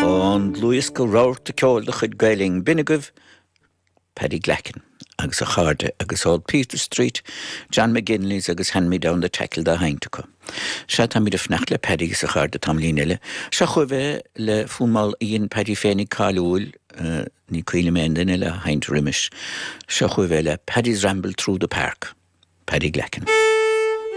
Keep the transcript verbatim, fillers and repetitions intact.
An dlúthdhiosca Rabharta Ceoil de chuid Gael Linn b'in agaibh Paddy Glackin agus a chairde agus Old Peter Street, John McGinley's agus Hand Me Down the Tackle dá sheinnt acu. Sea táimid ag fanacht le Paddy agus a chairde tamaillín eile. Seo chugaibh é le fonn mall a dhein Paddy féinig cáiliúil uh, ní cuimhin liom aon duine eile a sheinnt roimis. Seo chugaibh é le Paddy's Ramble Through the Park. Paddy Glackin.